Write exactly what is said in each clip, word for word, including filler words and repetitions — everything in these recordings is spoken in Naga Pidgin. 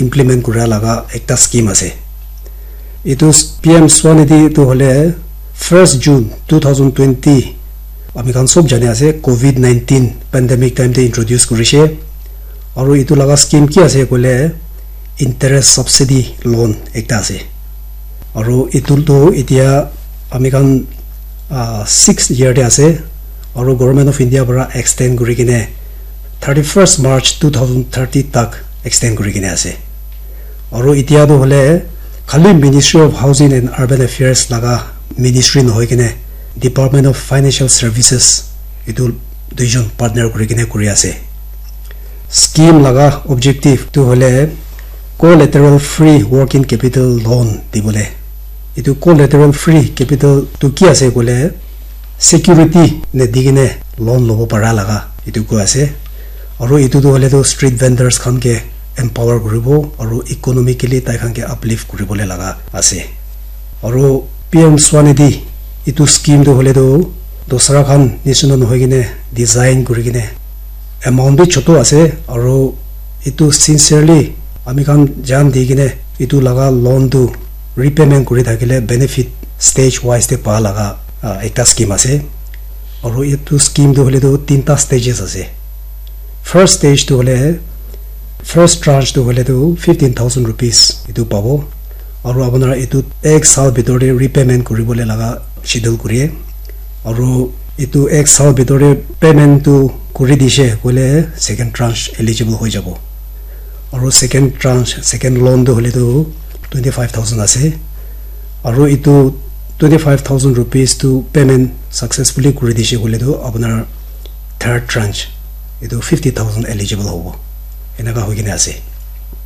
implement kura laga ekta scheme ase. Etu P M Swanidhi tu hole first June two thousand twenty, ami khan sob jani ase, covid nineteen pandemic time te introduce kurishe. Aru etu laga scheme ki ase koile, interest subsidy loan ekta ase. Aru etu tu etia ami khan, ah, sixth year te ase. Aru Government of India para extend kuri kene thirty-first March two thousand thirty tak extend kuri kene ase. Aru etia tu hole khali Ministry of Housing and Urban Affairs laga ministry nohoi kene Department of Financial Services etu duijon partner kuri kene kuri ase. Scheme laga objective tu hole collateral free working capital loan dibole. Etu collateral free capital tu ki ase koile, security ne di kene loan lobo para laga etu koi ase. Aru etu tu hole tu street vendors khan ke empower kuribo aru economically tai khan ke uplift kuribole laga ase. Aru P M Swanidhi etu scheme tu hole tu dosra khan nisina nohoi kene design kuri kene amount bi chotu ase, aru etu sincerely ami khan jan di kene etu laga loan tu repayment kuri thakile benefit stage wise te pa laga, ah, ekta scheme ase. Aru etu scheme tu hole tu tinta stages ase. First stage tu hole, first tranche tu hole tu fifteen thousand rupees etu pabo. Aru apuna etu ek saal bhitor te repayment kuribole laga schedule kuri. Aru etu ek saal bhitor te payment tu kuri dishe koile second tranche eligible hoi jabo. Aru second tranche, second loan tu hole tu twenty five thousand ase. Aru etu twenty five thousand rupees tu payment successfully kuri dishe koile tu apunar third tranche etu fifty thousand eligible hobo. Enaka hoi kene ase.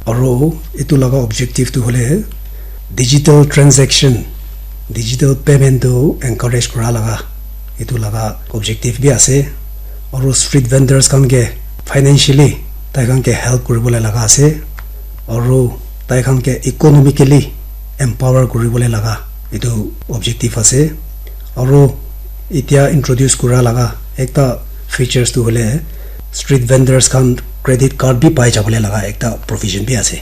Aru etu laga objective tu hole digital transaction, digital payment tu encourage kura laga etu laga objective bi ase. Aru street vendors khan ke financially tai khan ke help kuribole laga ase. Aru tai khan ke economically empower kuribole laga etu objective ase. Aru etia introduce kura laga ekta features tu hole street vendors khan credit card bi pai jabole laga ekta provision bi ase.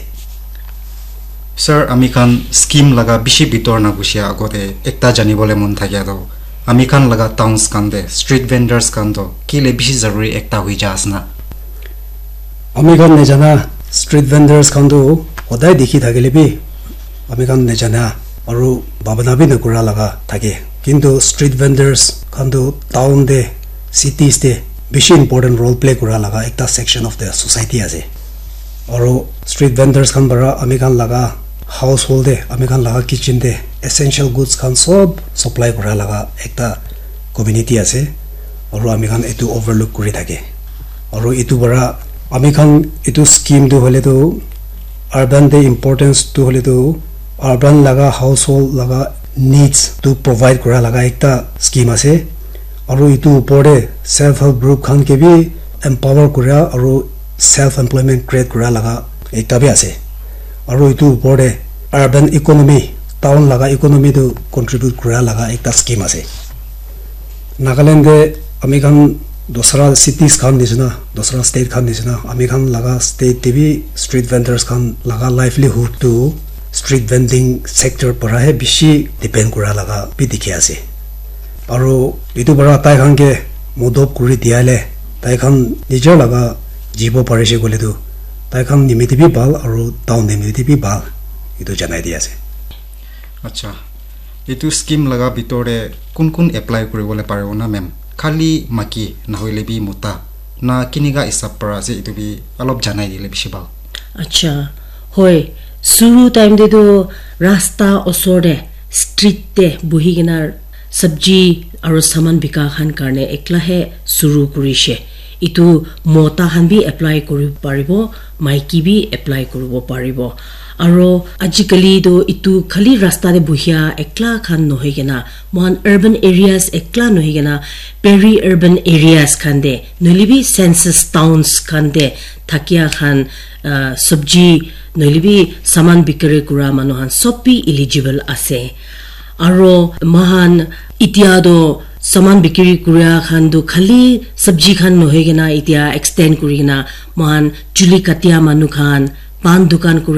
Sir, ami khan scheme laga bishi bitor na gusia agote ekta janibole mon thakia to, ami khan laga towns khan te street vendors khan to kile bishi zaruri ekta hui ja ase na? Ami khan najana street vendors khan tu hodai dikhi thakile bi ami khan najana aru bhabana bi nakura laga thake. Kintu street vendors khan tu town te, cities te bishi important role play kura laga ekta section of the society ase. Aru street vendors khan para ami khan laga household te, ami khan laga kitchen te essential goods khan sob supply kura laga ekta community ase. Aru ami khan etu overlook kuri thake. Aru etu para ami khan etu scheme tu hole tu urban te importance tu hole tu urban laga household laga needs tu provide kura laga ekta scheme ase. Aru etu upor te self help group khan ke bi empower kura aru self employment create kura laga ekta bi ase. Aru etu upor te urban economy, town laga economy tu contribute kura laga ekta scheme ase. Nagaland te ami khan dusra cities khan nisna, dusra state khan nisna, ami khan laga state te bi street vendors khan laga livelihood tu street vending sector para he bishi depend kura laga bi dikhi ase. Aru etu para tai khan ke modop kuri dia le tai khan nijer laga jibo parishe koile tu tai khan nimite bi bhal aru town nimite bi bhal, etu janai di ase. Acha, etu scheme laga bitor te kun kun apply kuribole paribo na, ma'am? Khali maki nahoile bi mota na kinika hisab para ase, etu bi alop janai dile bishi bhal. Acha, hoi, suru time te tu rasta osor te, street te buhi kena sabji aru saman bika khan karne ekla he suru kurishe. Etu mota khan bi apply kuri paribo, maiki bi apply kuribo paribo. Aro ajikali toh etu khali rasta te buhia ekla khan nohoi kena, moikhan urban areas ekla nohoi kena, peri urban areas khan te, nohole bi census towns khan te thakia khan, ah, sabji nohole bi saman bikiri kura manu khan sob bi eligible ase. Aro moikhan etia toh saman bikiri kura khan toh khali sabji khan nohoi kena etia extend kuri kena moikhan chuli katia manu khan, pan dukan kura